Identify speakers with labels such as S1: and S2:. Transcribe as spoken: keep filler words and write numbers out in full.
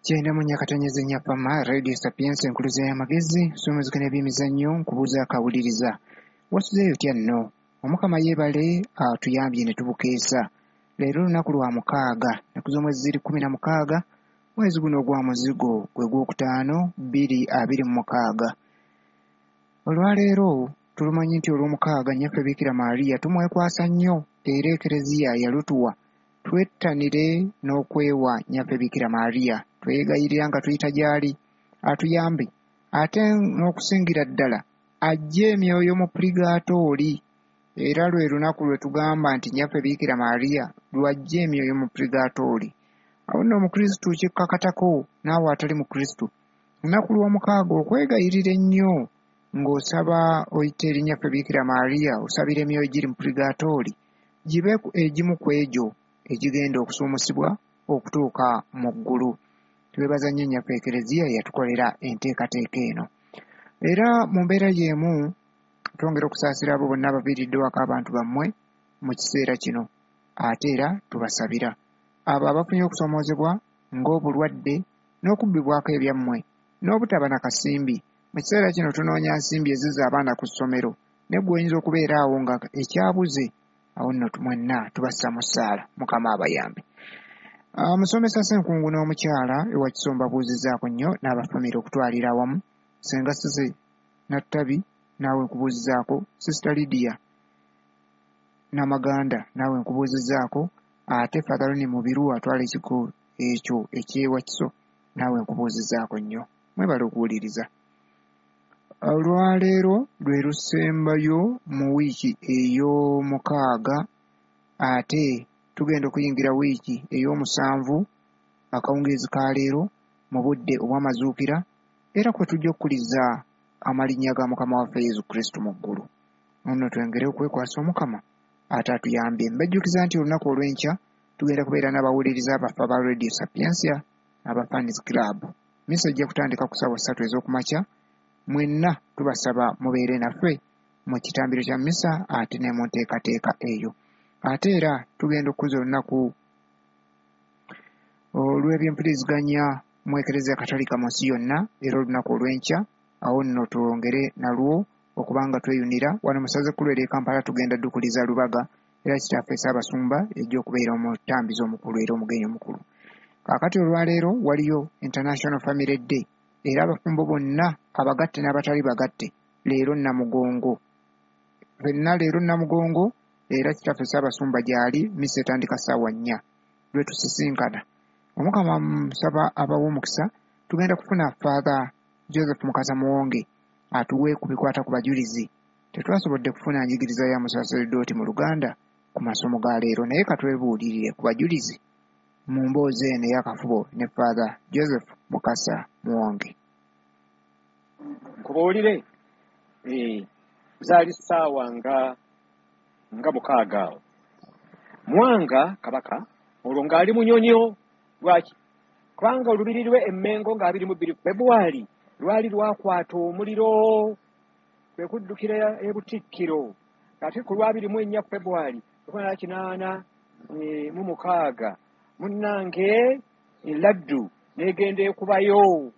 S1: Kyenda mu Nyakatonyeze Nyapama Radio Sapienza, enkuluze y'amagezi, somezeka n'ebyemizannyo. Nkubuuza akawuliriza, wasuzeeyo otya nno? Omukama yeebale atuyambye ne tubukeesa. Leero lunaku lwa mukaaga, nnaku z'omwezi ziri kkumi na mukaaga, mwezi guno ogwa muzigo gwe gwokutaano, bbiri abiri mu mukaaga. Olwaleero tulumanyi nti olw'omukaaga Nnyaffe Biikira Maria tumwekwasa nnyo, era Ekereziya yalutuwa twettanire n'okwewa Nnyaffe Biikira Maria. Twegayirira nga tuyita gy'ali atuyambe, ate n'okusingira ddala aggye emyoyo mu purigaatooli. Era lwe lunaku lwe tugamba nti Nnyaffe Biikira Maria lw'aggye emyoyo mu purigaatooli. Awo nno Omukristu kikkakatako, naawe atali Mukristu, lunaku lw'omukaaga okwegayirira ennyo ng'osaba oyita eri Nnyaffe Biikira Maria, osabira emyoyo giri mu purigaatooli gibe egimu ku egyo egigenda okusuumusibwa okutuuka mu ggulu. Twebaza nnyo Nnyaffe Ekereziya yatukolera enteekateeka eno. Era mu mbeera y'emu twongera okusaasira abo bonna abaviiriddwako abantu bammwe mu kiseera kino, ate era tubasabira abo abafunye okusoomoozebwa ng'obulwadde n'okubbibwako ebyammwe n'obutaba na kasimbi. Mu kiseera kino tunoonya nsimbi ezizza abaana ku ssomero, naye ggwe oyinza okubeera awo nga ekyabuze. Awo nno mwenna tubassa mu ssaala, Mukama abayambe. Musomesa Ssenkungu n'omukyala ewa Kisomba buuzizzaako nnyo n'abafamire okutwalira awamu. Senga Sise Nattabi, naawe nkubuuzizzaako. Sister Lydia Namaganda, naawe nkubuuzizzaako. Ate Father Ronnie Mubiru atwala ekiko ekyo eky'ewakiso, naawe nkubuuzizzaako nnyo. Mwebale okuwuliriza. Olwaleero lwe lusembayo mu wiiki ey'omukaaga, ate tugenda okuyingira wiiki ey'omusanvu akawungeezi ka leero mu budde obw'amazuukira, era kwe tujja okukuliza amalinnya ga Mukama waffe Yesu Kristo mu ggulu. Nno twengere okwekwasa Omukama ate atuyambye. Mbajjukiza nti olunaku olw'enkya tugenda kubeera n'abawuliriza abaffe aba Radio Sapientia, aba Fans Club. Misa ejja kutandika ku ssaawa ssatu ez'okumakya. Mwenna tubasaba mubeere naffe mu kitambiro kya misa ate ne mu nteekateeka eyo. Ate era tugenda okukuza olunaku olw'ebyempuliziganya mu Ekereziya Katolika mu nsi yonna, era olunaku olw'enkya. Awo nno twongere nalwo okubanga tweyunira wano mu ssaza ekkulu ery'e Kampala. Tugenda ddukuliza Lubaga, era Kitaffe Ssaabasumba ejja okubeera omutambizi omukulu era omugenyi omukulu. Kaakati olwaleero waliyo International Family Day, era abafumbo bonna abagatte n'abatali bagatte leero Namugongo, ffenna leero Namugongo, era Kitaffe Ssaabasumba gy'ali. Misa etandika ssaawa nnya lwe tusisinkana. Omukama musaba abawa omukisa. Tugenda kufuna Father Joseph Mukasa Muwonge atuwe ku bikwata ku bajulizi. Tetwasobodde kufuna njigiriza ya musaseredooti mu Luganda ku masomo ga leero, naye katwebuulirire ku bajulizi mu mboozi eno ey'akafubo ne Father Joseph Mukasa Muwonge.
S2: Nkubuulire, eh, zaali ssaawa nga nga mukaaga awo. Mwanga kabaka olwo ng'ali Munyonyo. Lwaki? Kubanga olubiri lwe Emmengo nga abiri mu bbiri Februari lwali lwakwata omuliro, kwe kuddukira e Butikkiro. Ate ku lwabiri mu ennya Februari lukumi kinaana eh, mu mukaaga, munnange, eladdu n'egenda ekubayo.